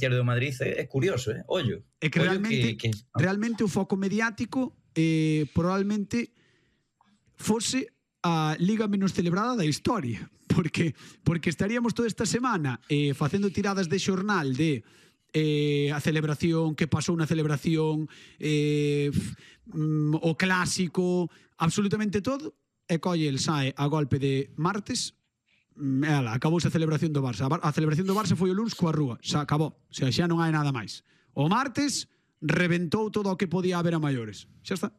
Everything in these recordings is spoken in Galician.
do Madrid é curioso, ollo. É que realmente o foco mediático probablemente fose a liga menos celebrada da historia, porque estaríamos toda esta semana facendo tiradas de xornal de a celebración, que pasou na celebración, o clásico, absolutamente todo, e colle el sae a golpe de martes, acabouse a celebración do Barça. A celebración do Barça foi o luns coa rúa, xa acabou, xa non hai nada máis. O martes reventou todo o que podía haber a maiores, xa está.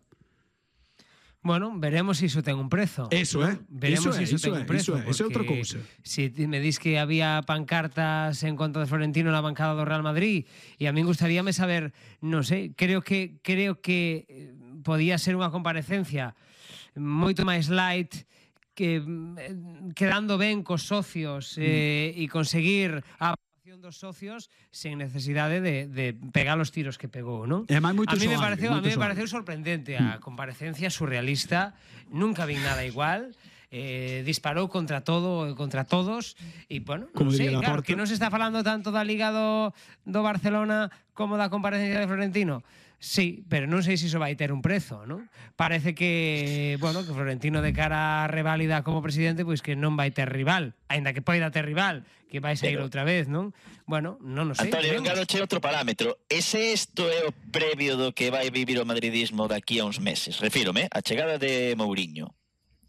Bueno, veremos se iso ten un prezo. Eso é. Veremos se iso ten un prezo. Eso é outra cousa. Se me dis que había pancartas en contra de Florentino na bancada do Real Madrid, e a min gustaríame saber, non sei, creo que podía ser unha comparecencia moito máis light, que quedando ben cos socios e conseguir a aprobación dos socios sen necesidade de pegar os tiros que pegou, non? A mí me pareceu sorprendente a comparecencia surrealista, nunca vi nada igual. Disparou contra todo e contra todos e, bueno, non sei, claro, que non se está falando tanto da Liga do Barcelona como da comparecencia de Florentino. Sí, pero non sei se iso vai ter un prezo, non? Parece que, bueno, que Florentino de cara a reválida como presidente, pois que non vai ter rival, aínda que poida ter rival, que vai sair outra vez, non? Bueno, non sei. Antonio, claro, che outro parámetro. Ese isto é o previo do que vai vivir o madridismo daqui a uns meses. Refírome a chegada de Mourinho.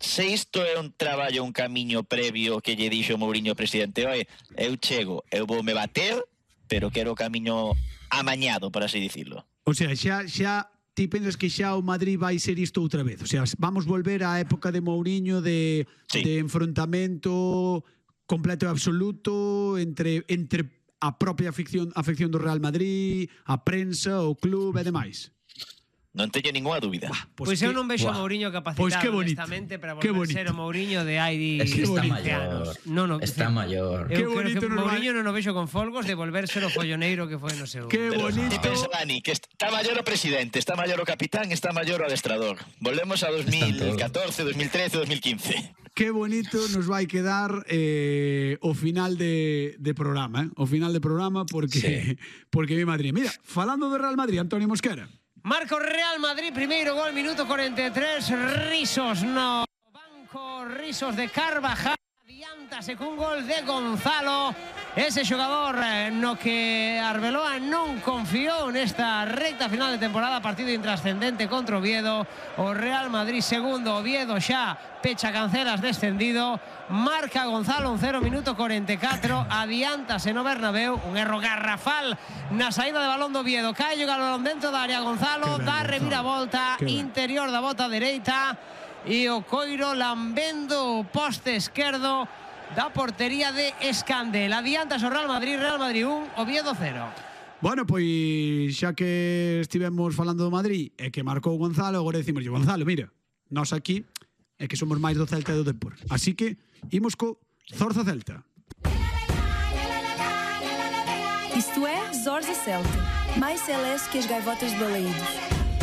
Se isto é un traballo, un camiño previo que lle dixo Mourinho presidente, oi, eu chego, eu vou me bater, pero quero o camiño amañado, por así dicirlo. O sea, xa ti pensas que xa o Madrid vai ser isto outra vez? O sea, vamos volver á época de Mourinho de enfrontamento completo e absoluto entre a propia afección do Real Madrid, a prensa, o club e demais. Non teño ninguna dúbida. Pois eu non vexo a Mourinho capacitado honestamente para volver ser o Mourinho de hai 20 anos. Está maior. Eu creo que Mourinho non o vexo con folgos de volver ser o folloneiro que foi no seu... Que bonito. E pensa, Dani, que está maior o presidente, está maior o capitán, está maior o adestrador. Volvemos a 2014, 2013, 2015. Que bonito nos vai quedar o final de programa, o final de programa porque mi Madrid. Mira, falando do Real Madrid, Antonio Mosquera. Marca o Real Madrid, primeiro gol, minuto 43, risos no banco, risos de Carvajal, adiántase cun gol de Gonzalo, ese xogador no que Arbeloa non confiou nesta recta final de temporada, partido intrascendente contra Oviedo, o Real Madrid segundo, Oviedo xa pecha cancelas descendido, marca Gonzalo un 0 minuto 44, adiántase no Bernabéu, un erro garrafal na saída de balón do Oviedo, cae o balón dentro da área, Gonzalo dá reviravolta, interior da bota dereita e o coiro lambendo o poste esquerdo da portería de Escandel. Adiantas o Real Madrid 1, Oviedo 0. Bueno, pois xa que estivemos falando do Madrid e que marcou Gonzalo, agora decimos, Gonzalo, mira, nós aquí é que somos máis do Celta e do Depor. Así que imos co Zorza Celta. Isto é Zorza Celta, mais celeste que as gaivotas de Balaídos.